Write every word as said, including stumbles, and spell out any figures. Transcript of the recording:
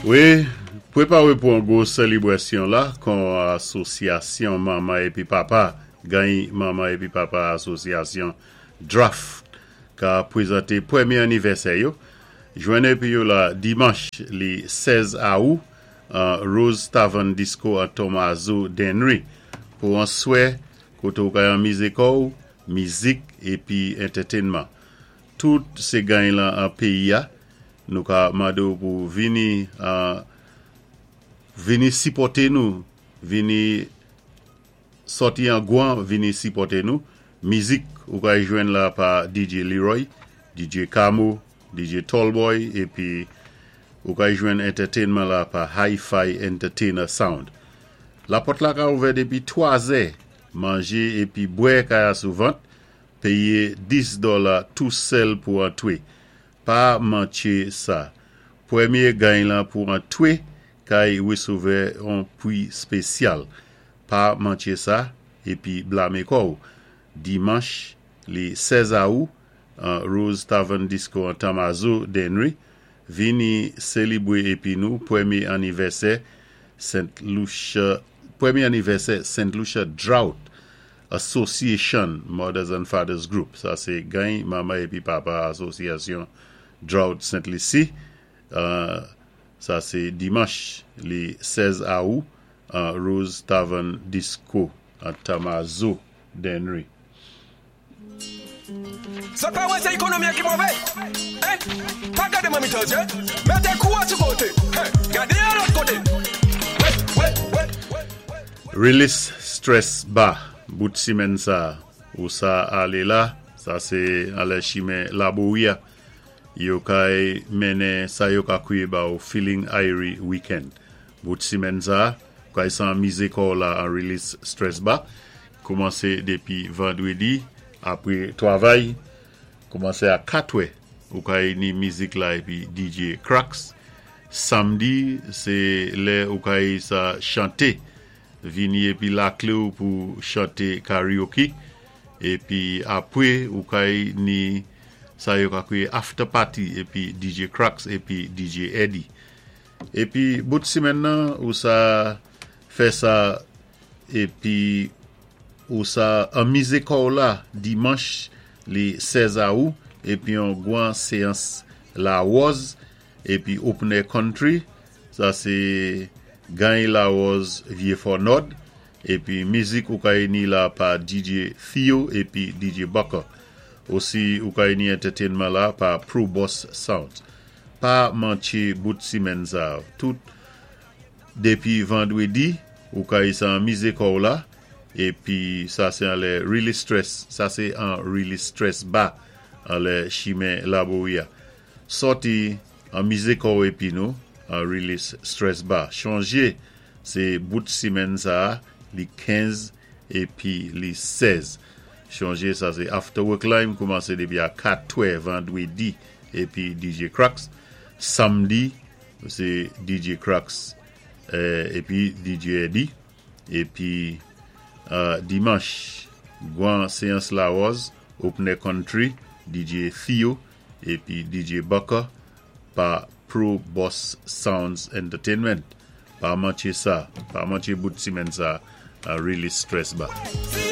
Wi, pwépawé pou an gwo sélibwasyon la kon asosyasyon manman épi papa, gany manman épi papa asosyasyon Draft ka pwézanté pwémyé anniversaire yo. Jwenn épi yo la dimanch li sèz awou an Rose Tavern Disco an Tomazo Dennery pou an swé koté ou ka anmizé kò'w, mizik épi entertainment. Tout sé gany lan an péyi a, nou ka mandé ou pou vini uh, vini sipòté nou, vini sòti an gwan, vini sipòté nou. Mizik ou ka jwenn la pa D J Leroy, D J Camo, D J Tallboy, épi ou ka jwenn entertainment la pa Hi-Fi Entertainer Sound. La pòt la ka ouvè dépi twa zè, manjé épi bwè ka ya sou vant, péyé dis dola tou sèl pou antwé. Pa mantché sa. Pwémyé gany lan pou antwé kay wésovè an pwi spésyal. Pa mantché sa épi blamé kò'w. Dimanch li sèz awou an Rose Tavern Disco an Tamazo Dennery, vini sélibwé épi nou pwémyé anniversaire Saint Lucia, pwémyé anniversaire Saint Lucia Drought Association Mothers and Fathers Group. Sa sé gany manman épi papa asosyasyon Drought Saint Lucie. Uh, sa sé dimanch li sèz awou an Rose Tavern Disco an Tamazo Dennery. Sa pa wè sé ékonomi ki mové. Hein? Pa gadé manmi tandjé. Mété kou a sou koté. Hein? Gadé a lòt koté. Wé, wé, wé, wé, wé. Release Stress Bar, bout simenn sa, ou sa alé la, sa sé anlè chimen Laboria, yo kay mennen sa yo ka kwiyé ba ou Feeling Irie Weekend. Bout simenn sa, kay sa anmizé kò'w la an Release Stress Bar, koumansé dépi vandwédi, apwé twavay, koumansé a katwè, ou kay ni mizik la épi D J Cracks. Samdi, sé lè ou kay sa chanté, vini épi laklé ou pou chanté karaoke, épi apwé ou kay ni sa yo ka kwiyé after party épi D J Cracks épi D J Eddie. Épi bout simenn nan ou sa fè sa épi ou sa anmizé kò'w la dimanch li sèz awou épi yon gwan séyans la Rose épi open air country, sa sé gany la Rose Vieux Fort Nord, épi mizik ou kay ni la pa D J Theo épi D J Bucker. Osi ou kay ni entertainment la pa Pro Boss Sound. Pa mantché bout simenn sa. Tout dépi vandwédi ou kay sa anmizé kò'w la épi sa sé anlè Release Stress, sa sé an Release Stress Bar anlè chimen Laboria. Sòti anmizé kò'w épi nou an Release Stress Bar. Chonjé sé bout simenn sa li kenz épi li sèz. Chonjé sa sé after work line koumansé dépi a katwè vandwédi épi D J Cracks. Samdi sé D J Cracks euh, épi D J Eddie. Épi euh, dimanch gwan séyans la Rose Open Air Country, D J Theo épi D J Bucker pa Pro Boss Sounds Entertainment. Pa mantché sa, pa mantché bout simenn sa a Release Stress Bar. Si